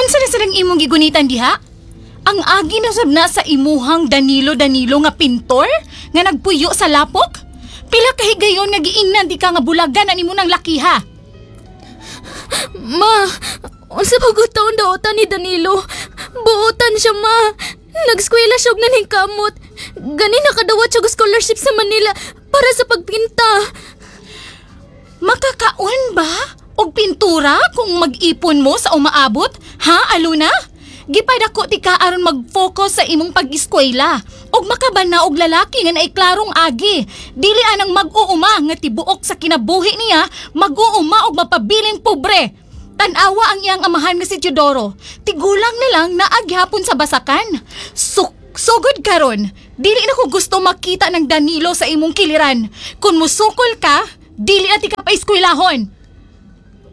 Unsa na silang imong gigunitan diha? Ang agi na sab na sa imuhang Danilo-Danilo nga pintor nga nagpuyo sa lapok? Pila ka higayon nga giingnan di ka nga bulagan ani mo ng lakiha? Ma, unsa pa gud taon daotan ni Danilo? Buotan siya, ma. Nagskwela siya og naningkamot. Gani nakadawat siya og scholarship sa Manila para sa pagpinta. Makakaon ba? Og pintura kung mag-ipon mo sa umaabot? Ha, Aluna? Gipadako ti ka aron mag-focus sa imong pag-eskwela. Og makabana og lalaki nga naiklarong agi. Dili anang mag-uuma nga tibuok sa kinabuhi niya, mag-uuma og mapabiling pobre. Tan-awa ang iyang amahan nga si Teodoro. Tigulang na lang naaghapon sa basakan. Sugod karon. Dili na ko gusto makita ng Danilo sa imong kiliran. Kung musukol ka, dili na ti ka paeskwelahon.